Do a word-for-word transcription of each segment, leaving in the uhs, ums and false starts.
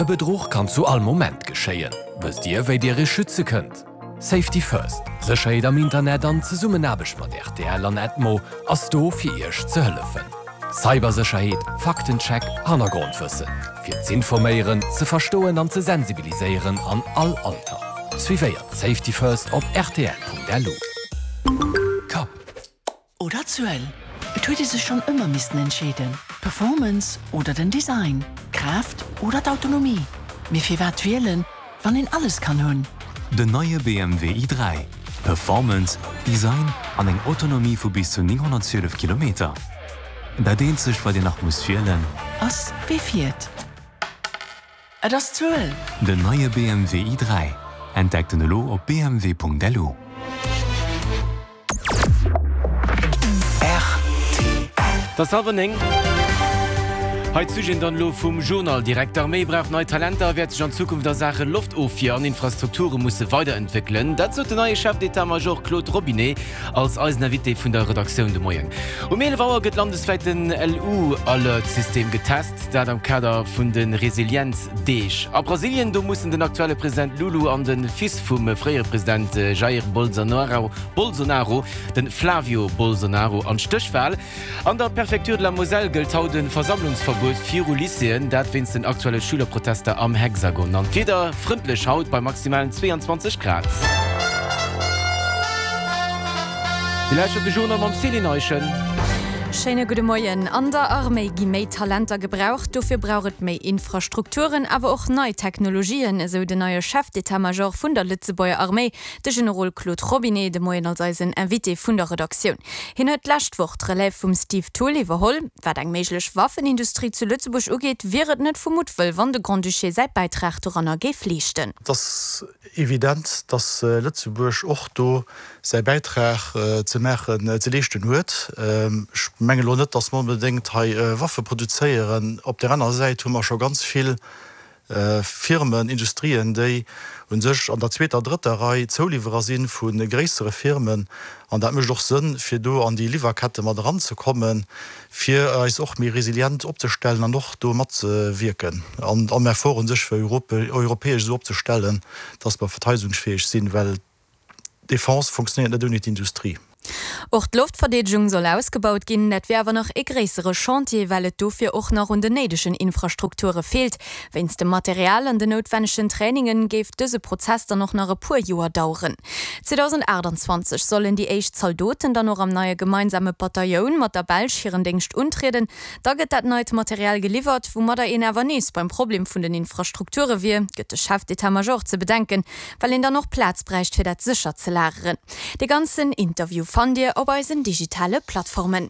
E Bedruch kann zu all Moment geschéien. Wësst Dir, wéi Dir Iech schütze kënnt? Safety First, Sécherheet am Internet an Zesummenaarbecht mat rtl an Edmo ass do fir Iech ze hëllefen. Cybersécherheet, Faktencheck, Hannergrondwëssen. Fir z'informéieren, ze verstoen an ze sensibiliséieren an all Alter. Suivéiert Safety First op rtl.lu. Kapp. Oder Zuel? Et huet ee sech schonn ëmmer missten entscheeden. Performance oder den Design? Kraaft oder d'Autonomie? Mee firwat wielen, wann een alles kann hunn? Den neie B M W i dräi. Performance, Design an eng Autonomie vu bis zu nénghonnertzwielef Kilometer. Dat eenzegt, wat Dir nach musst wielen, ass wee fiert. Et ass d'Zuel! Den neie B M W i dräi. Entdeckt en elo op B M W Punkt L U. Et ass hallwer néng. Hei d'Sujeten dann elo vum Journal direkt. D'Arméi brauch nei Talenter a wäert sech an Zukunft a Saache Loftofwier an Infrastrukture musse weiderentwéckelen. Dat sot den neie Chef d'état-major Claude Robinet als eisen Invité vun der Redaktioun de Moien. Um eelef Auer gëtt landeswäit den L U-Alert-System getest, dat am Kader vun de Resilienz-Deeg. A Brasilien, do mussen den aktuelle President Lulu an de Fils vum fréiere President Jair Bolsonaro, Bolsonaro, de Flavio Bolsonaro, an d'Stéchwal. An der Préfecture de la Moselle gëllt haut e Versammlungsverbuet viru Lycéeën, dat wéinst den aktuelle Schülerprotester am Hexagon. An d'Wieder, frëndlech haut bei maximalen zweeanzwanzeg Grad. Dir lauschtert de Journal mam Céline Eischen. Schéine gudde Moien. An der Arméi gi méi Talenter gebraucht, dofir brauch et méi Infrastrukturen, awer och nei Technologien, esou den neie Chef d'état-major vun der Lëtzebuerger Arméi, de Generol Claude Robinet, de Moien als eisen Invité vun der Redaktioun. Hien huet d'lescht Woch d'Relève vum Steve Thull iwwerholl. Wat eng méiglech Waffenindustrie zu Lëtzebuerg ugeet, wier et net vu Muttwëll, wann de Grand-Duché säi Bäitrag doranner géif leeschten. Et ass evident, dass Lëtzebuerg och do säi Bäitrag ze maachen, ze leeschten huet. Ech mengen elo net, dass mer onbedéngt hei Waffe produzéieren. Op där anerer Säit hu mer scho ganz vill Firmen, Industrien, déi u sech an der zweeter, drëtter Rei Zouliwwerer si vu gréissere Firmen. An dat mécht och Sënn, fir do an déi Liwwerkette mat eranzekommen, fir eis och méi resilient opzestellen an och do matzewierken an am Effort u sech fir europäesch esou opzestellen, dass mer verteidegungsfäeg sinn, well Defense funktionéiert net ouni d'Industrie. Och d'Loftverdeedegung soll ausgebaut ginn, dat wier awer nach e gréissere Chantier, well et dofir och nach un den néidegen Infrastrukture feelt. Wéinst dem Material an den noutwennegen Trainingen géif dëse Prozess dann och nach e puer Joer daueren. zweedausendaachtenzwanzeg sollen déi éischt Zaldoten dann och am neie gemeinsame Batailloun mat der Belsch hiren Déngscht untrieden. Da gëtt dat neit Material geliwwert, woumadder een awer nees beim Problem vun den Infrastrukture wier, gëtt de Chef d'état-major ze bedenken, well een dann och Plaz bräicht fir dat sécher ze lageren. De ganzen Interview fannt Dir op eisen digitale Plattformen.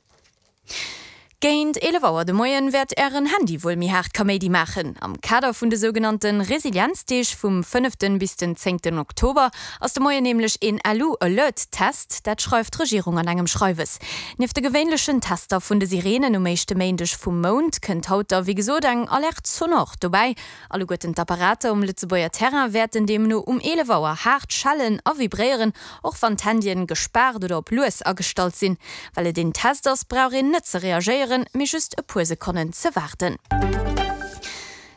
Géint eelef Auer de Moien wäert Ären Handy wuel méi haart Kaméidi maachen. Am Kader vun de sougenannte Resilienzdeeg vum fënneften bis den zéngten Oktober ass de Moien nämlech een L U-Alert-Test, dat schreift d'Regierung an engem Schreiwes. Nieft de gewéinlechen Tester vun de Sireenen um éischte Méindeg vum Mount kënnt haut da wéi gesot eng Alerte sonore dobäi. Alleguerten d'Apparater um Lëtzebuerger Terrain wäerten deemno um eelef Auer haart schellen a vibréieren, och wann d'Handyen gespaart oder op lues agestallt sinn. Well et een Test ass, brauch een net ze reagéieren, mee just e puer Sekonnen ze waarden.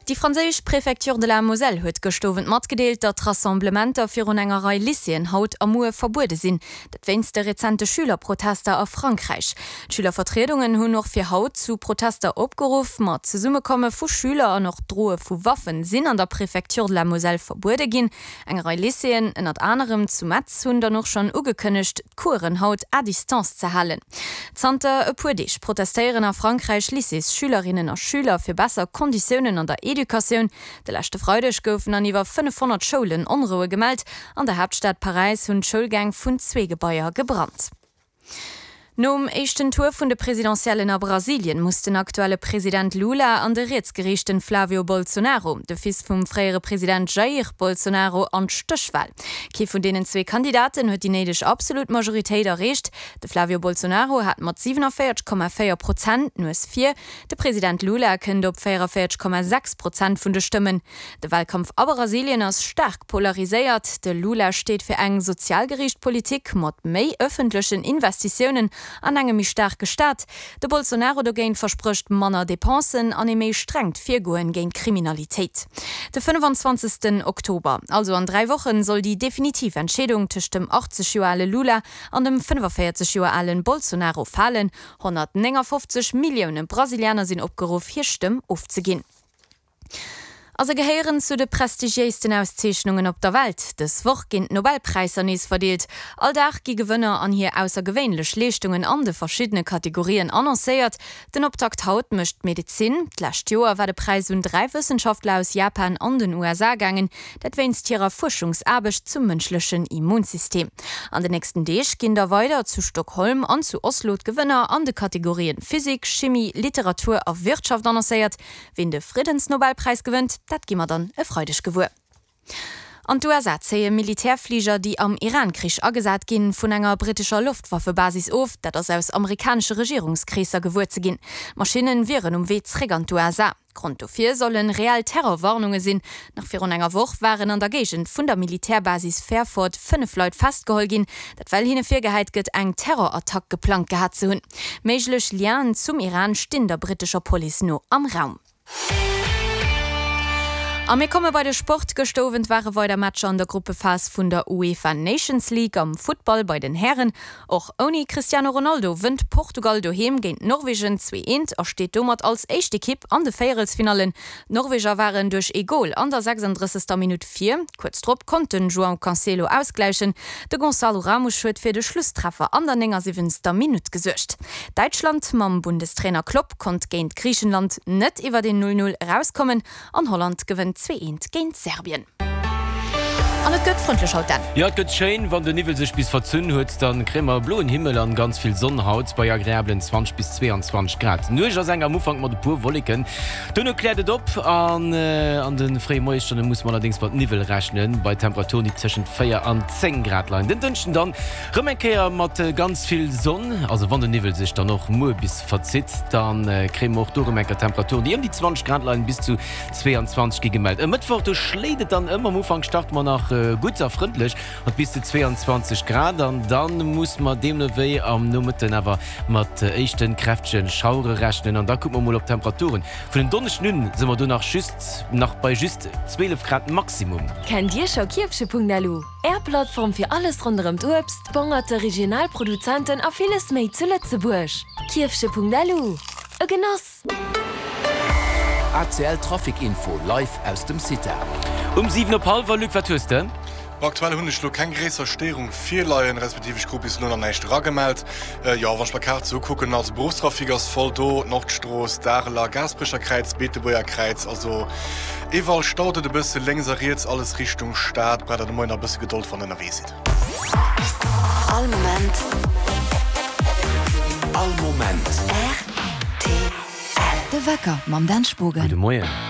Déi franséisch Préfecture de la Moselle huet gëscht Owend matgedeelt, datt Rassemblementer virun enger Rei Lycéeën haut a muer verbuede sinn. Dat wéinst de rezente Schülerprotester a Frankräich. D'Schülervertriedungen hunn och fir haut zu Protester opgeruff. Ma d'Zesummekomme vu Schüler an och d'Droe vu Waffen sinn an der Préfecture de la Moselle verbuede ginn. Eng Rei Lycéeën, ënnert anerem zu Metz, hunn dann och schonn ugekënnegt, d'Coursen haut à distance ze halen. Zanter e puer Deeg protestéieren a Frankräich Lycéesschülerinnen a Schüler fir besser Konditiounen an der Educatioun. De leschte Freideg goufen an iwwer fënnefhonnert Schoulen Onroue gemellt. An der Haaptstad Paräis hunn d'Schoulgäng vun zwee Gebaier gebrannt. Nom éischten Tour vun de Presidentiellen a Brasilien muss den aktuelle President Lula an de rietsgeriichten Flavio Bolsonaro, de Fils vum fréiere President Jair Bolsonaro, an d'Stéchwal. Kee vun deenen zwee Kandidaten huet déi néideg absolut Majoritéit erreecht. De Flavio Bolsonaro hat mat siewenenvéierzeg Komma véier Prozent d'Nues vir, de President Lula kënnt op véiereviertzeg Komma sechs Prozent vun de Stëmmen. De Walkampf a Brasilien ass staark polariséiert. De Lula steet fir eng sozialgeriicht Politik mat méi ëffentlechen Investitiounen an engem méi staarke Staat. De Bolsonaro dogéint versprécht manner Depensen an ee méi strengt Virgoen géint d'Kriminalitéit. De fënnefenzwanzegsten Oktober, also an dräi Wochen, soll déi definitiv Entscheedung tëscht dem achtzeg Joer ale Lula an dem fënnefevéierzeg Joer alen Bolsonaro falen. honnertnéngafofzeg Millioune Brasilianer sinn opgeruff, hir Stëmm ofzeginn. A se gehéieren zu de prestigiéisten Auszeechnungen op der Welt. Dës Woch ginn d'Nobelpräisser nees verdeelt. All Dag gi Gewënner an hir aussergewéinlech Leeschtungen an de verschiddene Kategorien annoncéiert. Den Optakt haut mécht d'Medezin. D'lescht Joer war de Präis un dräi Wëssenschaftler aus Japan an den U S A gaangen, dat wéinst hirer Fuerschungsaarbecht zum mënschlechen Immunsystem. An den nächsten Deeg ginn da weider zu Stockholm an zu Oslo d'Gewënner an de Kategorien Physik, Chimie, Literatur a Wirtschaft annoncéiert. Wien de Friddensnobelpräis gewënnt, dat gi mer dann e Freideg gewuer. An d'U S A zéie Militärfliger, déi am Iran-Krich agesat ginn, vun enger brittescher Loftwaffebasis of. Dat ass aus amerikanesche Regierungskreesser gewuer ze ginn. D'Maschinne wieren um Wee zréck an d'U S A. Grond dofir solle reell Terrorwarnunge sinn. Nach virun enger Woch waren an der Géigend vun der Militärbasis Fairford fënnef Leit festgeholl ginn, dat well hinne virgehäit gëtt, eng Terrorattack geplangt gehat ze hunn. Méiglech Lienen zum Iran stinn der brittescher Police no am Raum. A mir komme bei de Sport. Gëschter Owend ware weider Matcher an der Gruppephas vun der UEFA Nations League am Futtball bei den Hären. Och ouni Cristiano Ronaldo wënnt Portugal doheem géint Norwegen zwee eent a steet domat als éischt Ekipp an de Véierelsfinallen. D'Norweger waren duerch ee Gol an der sechsunddrëssegster Minutt vir. Kuerz drop konnt den João Cancelo ausgläichen. De Gonçalo Ramos huet fir de Schlusstreffer an der néngasiwwenzter Minutt gesuergt. Däitschland mam Bundestrainer Klopp konnt géint Griichenland net iwwer een null null erauskommen an Holland gewënnt zwee eent géint Serbien. An et gëtt frëndlech haut, Dan. Jo, et gëtt schéin. Wann den Niwwel sech bis verzunn huet, dann kréie mer bloen Himmel an ganz vill Sonn haut bei agreablen zwanzeg bis zweeanzwanzeg Grad. D'Nuecht ass eng am Ufank mat e puer Wolleken. Dono kläert et op an an de fréie Moiesstonne muss mer allerdéngs mat Niwwel rechnen, bei Temperaturen, déi tëschent véier an zéng Grad leien. Den Dënschden dann rëm eng Kéier mat ganz vill Sonn, also wann den Niwwel sech dann och muer bis verzitt, dann kréie mer och do rëm eng Kéier Temperaturen, déi ëm déi zwanzeg Grad leien, bis zu zweeanzwanzeg gi gemellt. E Mëttwoch, do schléit et dann ëm, am Ufank starte mer nach gutt a frëndlech mat bis zu zweeanzwanzeg Grad an dann muss mer deemno wéi am Nomëtten awer mat éischten kräftegen Schauere rechnen an da kucke mer mol op d'Temperaturen. Vun en Donneschden un si mer do nach just nach bei just zwielef Grad Maximum. Kennt Dir scho Kierfche Punkt L U? Är Plattform fir alles ronderëm d'Uebst, Bongerte, regional Produzenten a villes méi zu Lëtzebuerg. Kierfche Punkt L U. E Genoss! A C L Trafic Info live aus dem CITA. Um siwen op hallwer, Luc, wat hues de? Aktuell hunn ech lo keng gréisser Stéierung virleien, respektiv ech krut bis elo nach näischt eragemellt. Jo, wann ech mer d'Kaart sou ukucken, also Beruffstrafic ass voll do, Nordstrooss, Dareler, Gaasperecher Kräiz, Beetebuerger Kräiz, also iwwerall staut et e bësse lénks a riets, alles Richtung Stad. Braucht der de Moien nach e bësse Gedold, wann der ënnerwee sidd. All Moment. All Moment. R T L. De Wecker mam Dan Spogen. Gudde Moien.